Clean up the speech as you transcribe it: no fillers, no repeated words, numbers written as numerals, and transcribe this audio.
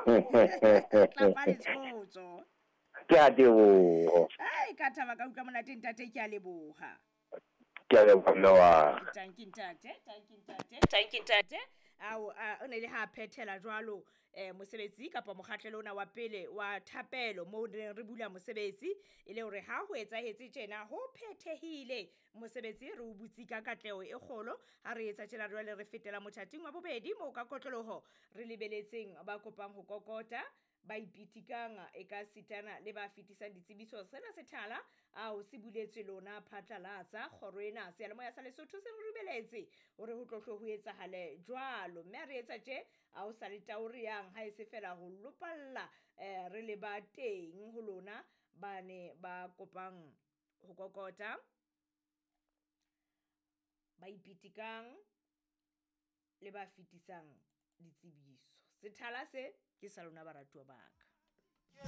Tlapa letshotso. Ke a teboho. Ai, ka thaba ka utlwa monate ntate, ke a leboha. Ke a leboha mme wa ka. Tanki ntate, tanki ntate, tanki ntate. Ao, o ne le ha phethela jwalo mosebetsi kapa mokgahlelo ona wa pele wa thapelo moo re re bula mosebetsi, e le hore ha ho etsahetse tjena ho phethehile mosebetsi, re o butse ka katleho e kgolo. Ha re etsa tjena jwale re fetela mothating wa bobedi moo ka kotloloho re lebeletseng ba kopang ho kokota, ba ipitikang e ka sitana le ba fetisang ditsebiso. Sena sethala ao se buletswe lona phatlalatsa kgoro ena seyalemoya sa Lesotho se re dumeletse hore ho tlo hle ho etsahale jwalo. Mme ha re etsa tje, ha o sa le tao re yang ha e se fela ho lopalla re le ba teng ho lona ba ne ba kopang ho kokota, ba ipitikang le ba fetisang ditsebiso. Sethala se ke sa lona baratuwa ba ka.